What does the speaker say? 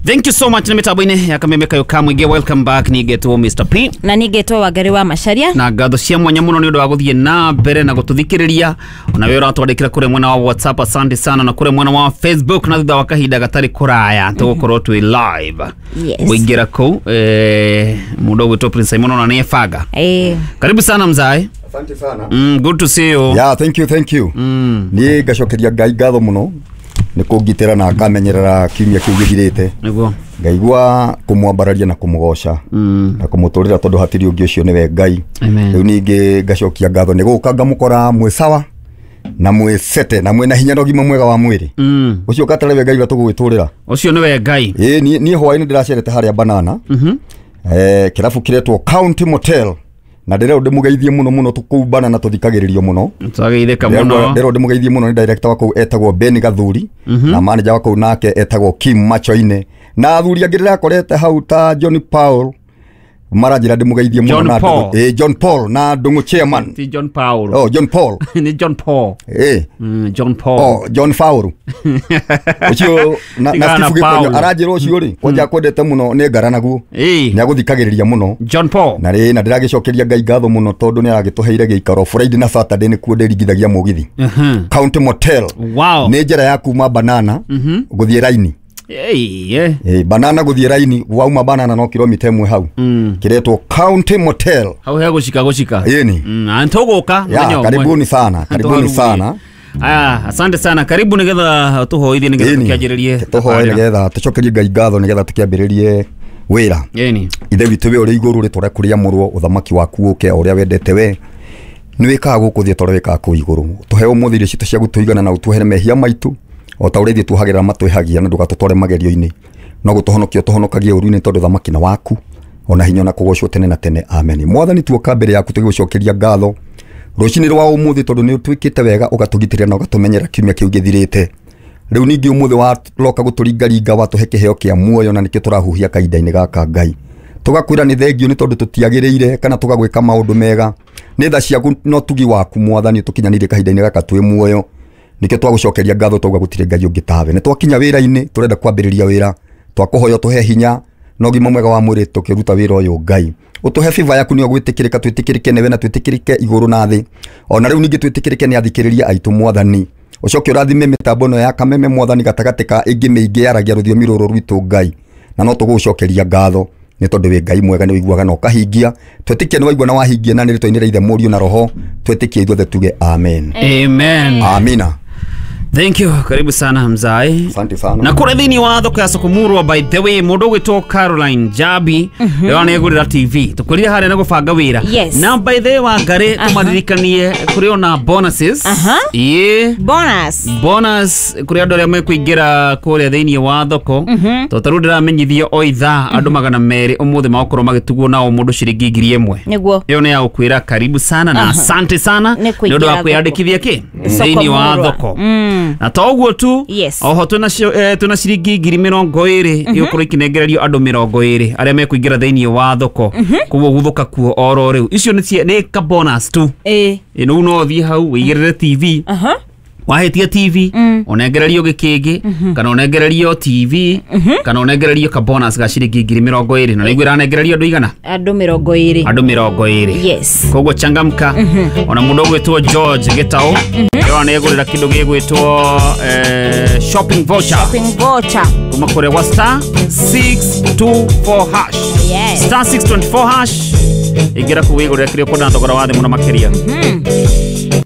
Thank you so much nä mä tambo-inä ya kameme kayo ka muingĩ. Welcome back. Nĩngetwo Mr P. Na nĩngetwo Wangari wa Macharia. Na ngatho cia mwanya mũno nĩ ũndũ wa gũthiĩ na mbere na gũtũthikĩrĩria, ona we ũratwandĩkĩra kũrĩa mwena wa WhatsApp, asante sana, na kũrĩa mwena wa Facebook. Na thutha wa kahinda gatarĩ kũraya tũgũkorwo twĩ live. Kũingĩra kũu, mũndũ ũgwĩtwo Prince Simon ona nĩ ebanga. Karibu sana, mzae. Asante sana. Good to see you. Yeah, thank you, thank you. Niĩ ngacokeria Ngai ngatho mũno nĩ kũngitĩra na akamenyerera kiumia kĩu gĩthirĩte. Ngaigua kũmwambararia na kũmũgoca na kũmũtũrĩra tondũ hatirĩ ũngĩ, ũcio nĩwe Ngai. Amen. Rĩu ningĩ ngacokia ngatho nĩ gũka ngamũkora mwĩ sawa na mwĩ sete na mwĩ na hinya na ũgima mwega wa mwĩrĩ. Ũcio katarĩ we Ngai ũrĩa tũgũgĩtũrĩra. Ũcio nĩwe Ngai. Ĩĩ, niĩ hwaĩ-inĩ ndĩracerete harĩa Banana. Kĩrabu kĩretwo County Motel na ndĩrerwo ndĩmũgeithie mũno mũno, kũu Banana tũthikagĩrĩrio mũno. Twageithĩka mũno. Ndĩrerwo ndĩmũgeithie mũno nĩ director wa kũu etagwo Ben Gathuri, na manager wa kũu nake etagwo Kim Machoine, na athuri angĩ ndĩrakorete hau ta John Paul maranjĩra ndĩmũgeithie mũno. John Na Paul. John Paul na Ndung'u chairman. Ti John Paul. Oh, John Paul. Nĩ John Paul. John Paul. Oh, John Fauru ũcio na Tigana na Steve Gĩkonyo Paul. aranjĩra ũcio rĩ kwanja kwendete mũno nĩ ngara naguo nĩ agũthikagĩrĩria mũno. John Paul. Na rĩ na ndĩragĩcokeria Ngai ngatho mũno tondũ nĩ aragĩtũheire gĩikaro. Friday na Saturday nĩkuo ndĩringithagia mũgithi. County Motel. Nĩ njĩra ya kuma Banana gũthiĩ raini. Hey, yeah. Banana gũthiĩ raini, wauma Banana no kilomita 1 hau. Kĩretwo County Motel. Hau he gũcika gũcika. Ĩni. Tũgũka Ya, mũthenya ũmwe. karibuni sana, karibuni sana. Aya, asante sana. Karibu nigetha tũhoithie nigetha Ĩni. tũkĩanjĩrĩrie. Tũhoe nĩgetha tũcokerie Ngai ngatho nĩgetha tũkĩambĩrĩrie wĩra. Ĩni. Ithe witũ we ũrĩ igũrũ, rĩtwa rĩaku rĩamũrwo, ũthamaki waku ũke, o ũrĩa wendete we nĩ wĩkaga gũkũ thĩ ta ũrĩa wĩkaga kũu igũrũ. Tũhe ũmũthĩ irio citũ cia gũtũigana, na ũtuohere mehia maitũ o ta ũrĩa ithuĩ tuohagĩra matwĩhagia, na ndũgatũtware magerio-inĩ, no gũtũhonokia ũtũhonokagie ũru-inĩ, tondũ thamaki na waku ona hinya na kũgocwo tene na tene, amen. Mwathani, tuoka mbere yaku tũgĩgũcokeria ngatho rũcinĩ rwa ũmũthĩ tondũ nĩ ũtwĩkĩte wega, ũgatũgitĩra na ũgatũmenyera kiumia kĩu gĩthirĩte. Rĩu ningĩ ũmũthĩ waroka gũtũringaringa, watũhe kĩheo kĩa muoyo na nĩkĩo tũrahuhia kahinda-inĩ gaka. Ngai, tũgakwĩra nĩ thengio nĩ tondũ tũtiagĩrĩire kana tũgagwĩka maũndũ mega, nĩ tha ciaku no tugi waku Mwathani tũkinyanĩire kahinda-inĩ gaka twĩ muoyo, nĩkĩo twagũcokeria ngatho, twauga gũtirĩ Ngai ũngĩ tawe. Nĩ twakinya wĩra-inĩ, tũrenda kwambĩrĩria wĩra, twakũhoya ũtũhe hinya na ũgima mwega wa mwĩrĩ tũkĩruta wĩra ũyũ. Ngai, ũtũhe favor yaku nĩyo gwĩtĩkĩrĩka, twĩtĩkĩrĩke nĩwe na twĩtĩkĩrĩke igũrũ na thĩ, ona rĩu ningĩ twĩtĩkĩrĩke nĩ athikĩrĩria aitũ. Mwathani, ũcoke ũrathime mĩtambo ĩno ya Kameme, Mwathani, gatagatĩ ka ĩngĩ mĩingĩ yaragia rũthiomi rũrũ rwitũ. Ngai, na no tũgũgũcokeria ngatho nĩ tondũ wĩ Ngai mwega, nĩ ũiguaga na ũkahingia. Twĩtĩkie nĩ waigua na wahingia, na nĩ rĩtwa-inĩ rĩa Ithe, Mũriũ na Roho twĩtĩkie ithuothe tuge amen. Amen. Amina. Thank you. Karibu sana, mzae. Asante sana. Na kũrĩa thĩinĩ wa thoko ya Sokomurwa, by the way, mũndũ ũgwĩtwo Caroline Jabi rĩo nĩ egũrĩra TV. Tũkwĩrire harĩa na gũbanga wĩra. Na by the way, Wangari, tũmaririkanie kũrĩ ona bonuses. Ĩĩ. Bonus. Bonus kũrĩ andũ arĩa mekũingĩra kũrĩa thĩinĩ wa thoko, tondũ tarĩu ndĩramenyithio o ithaa andũ 200 ũmũthĩ magũkorwo magĩtugwo nao mũndũ ciringi 1,000. Ĩyo nĩ ya gũkwĩra karibu sana na asante sana Nĩ nĩ ũndũ wa kũingĩra kwĩyandĩkithia kĩ Soko thĩinĩ wa Murwa. thoko. Na to ũguo tu, oho twĩna ciringi 20,000 igũkorwo ikĩnengererio andũ 20 arĩa mekũingĩra thĩinĩ wa thoko. Koguo guthũka kuo oro rĩu, icio nĩ ka bonus tu. Ĩ, rĩu no ũthiĩ hau wĩigĩrĩre TV. Wahĩtia TV, ũnengererio gĩkĩngĩ, kana ũnengererio TV, kana ũnengererio ka bonus ga ciringi 20,000. Na nĩguo ĩranengererio andũ igana? Andũ 20. Andũ 20. Koguo changamka. Ona mũndũ ũgwĩtwo George Gĩtaũ ĩyo nĩ egũrĩra kĩndũ gĩgwĩtwo shopping voucher Shopping voucher. kuma kũrĩa gwa star 624 hash. Star 624 hash, ingĩra kũu wĩgũrĩra kĩrĩa ũkwenda na thogora wa thĩ mũno makĩria.